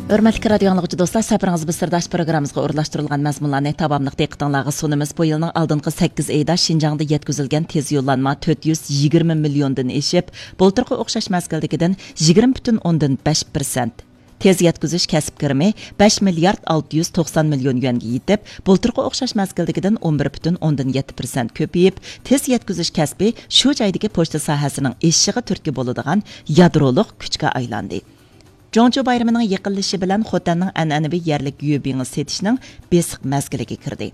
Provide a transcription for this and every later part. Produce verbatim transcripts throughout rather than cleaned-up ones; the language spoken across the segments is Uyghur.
ھۆرمەتلىك رادىيو ئاڭلىغۇچى دوستلار، سەپىرىڭىز بىر سىرداش پروگراممىمىزغا ئورۇنلاشتۇرۇلغان مەزمۇنلارنى تاماملىق دىققىتىڭلارغا سۇنىمىز. بۇ يىلنىڭ ئالدىنقى سەككىز ئېيىدا شىنجاڭدا يەتكۈزۈلگەن تېز يوللانما تۆت يۈز يىگىرمە مىليوندىن ئېشىپ، بۇلتۇرقى ئوخشاش مەزگىلدىكىدىن يىگىرمە پۈتۈن ئوندىن بەش پىرسەنت. تېز يەتكۈزۈش كەسىپ كىرىمى بەش مىليارد ئالتە يۈز توقسان مىليون يۈەنگە يېتىپ، بۇلتۇرقى ئوخشاش مەزگىلدىكىدىن ئون بىر پۈتۈن ئوندىن يەتتە پىرسەنت كۆپىيىپ، تېز يەتكۈزۈش كەسپى شۇ جايدىكى پوچتا ساھەسىنىڭ ئېشىشىغا تۈرتكە بولىدىغان يادرولۇق كۈچكە ئايلاندى. جۇڭچۇ بايرىمىنىڭ يېقىنلىشىشى بىلەن خوتەننىڭ ئەنئەنىۋى يەرلىك يۈبىڭى سېتىشنىڭ بېسىق مەزگىلىگە كىردى.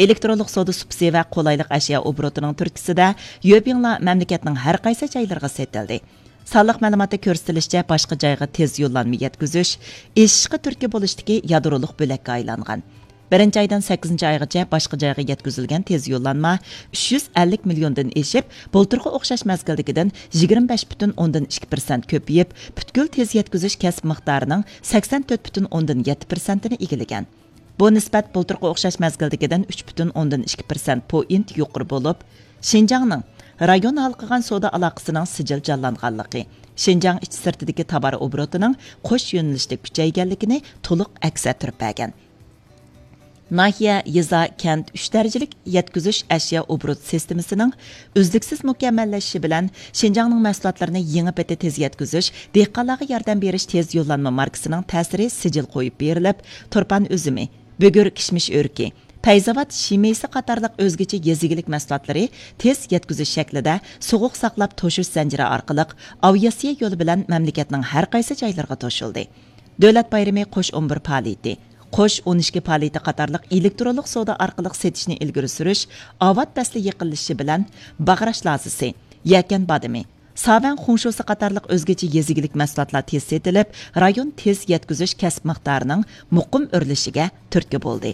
ئېلېكترونلۇق سودا سۇپىسى ۋە قولايلىق ئەشيا ئوبوروتىنىڭ تۈرتكىسىدە يۈبىڭلار مەملىكەتنىڭ ھەر قايسى جايلىرىغا سېتىلدى. سانلىق مەلۇماتتا كۆرسىتىلىشىچە، باشقا جايغا تېز يوللانما يەتكۈزۈش ئېشىشقا تۈرتكە بولۇشتىكى يادرولۇق بۆلەككە ئايلانغان. بىرىنچى ئايدىن سەككىزىنچى ئايغىچە باشقا جايغا يەتكۈزۈلگەن تېز يوللانما ئۈچ يۈز ئەللىك مىليوندىن ئېشىپ، بۇلتۇرقى ئوخشاش مەزگىلدىكىدىن يىگىرمە بەش پۈتۈن ئوندىن ئىككى پىرسەنت كۆپىيىپ، پۈتكۈل تېز يەتكۈزۈش كەسىپ مىقدارىنىڭ سەكسەن تۆت پۈتۈن ئوندىن يەتتە پىرسەنتىنى ئىگىلىگەن. بۇ نىسبەت بۇلتۇرقى ئوخشاش مەزگىلدىكىدىن ئۈچ پۈتۈن ئوندىن ئىككى پىرسەنت پوئىنت يۇقىرى بولۇپ، شىنجاڭنىڭ رايون ھالقىغان سودا ئالاقىسىنىڭ سىجىل جانلانغانلىقى، شىنجاڭ ئىچى سىرتىدىكى تاۋار ئوبوروتىنىڭ قوش يۆنىلىشلىك كۈچەيگەنلىكىنى تولۇق ئەكس ئەتتۈرۈپ بەرگەن. ناھىيە، يېزا، كەنت ئۈچ دەرىجىلىك يەتكۈزۈش ئەشيا ئوبوروت سىستېمىسىنىڭ ئۈزلۈكسىز مۇكەممەللىشىشى بىلەن، شىنجاڭنىڭ مەھسۇلاتلىرىنى يېڭى پېتى تېز يەتكۈزۈش، دېھقانلارغا ياردەم بېرىش تېز يوللانما ماركىسىنىڭ تەسىرى سىجىل قويۇپ بېرىلىپ، تۇرپان ئۈزۈمى، بۈگۈر كىشمىش ئۆرۈكى، پەيزاۋات شىمىسى قاتارلىق ئۆزگىچە يېزا ئىگىلىك مەھسۇلاتلىرى تېز يەتكۈزۈش شەكلىدە سوغۇق ساقلاپ توشۇش زەنجىرى ئارقىلىق ئاۋىئاتسىيە يولى بىلەن مەملىكەتنىڭ ھەر قايسى جايلىرىغا توشۇلدى. دۆلەت بايرىمى قوش ئون بىر پائالىيىتى، قوش ئون ئىككى پائالىيىتى قاتارلىق ئېلېكترونلۇق سودا ئارقىلىق سېتىشنى ئىلگىرى سۈرۈش، ئاۋات پەسلى يېقىنلىشىشى بىلەن باغراش لازىسى، يەكەن بادىمى، ساۋەن خۇڭشۇسى قاتارلىق ئۆزگىچە يېزا ئىگىلىك مەھسۇلاتلار تېز سېتىلىپ، رايون تېز يەتكۈزۈش كەسىپ مىقدارىنىڭ مۇقىم ئۆرلىشىگە تۈرتكە بولدى.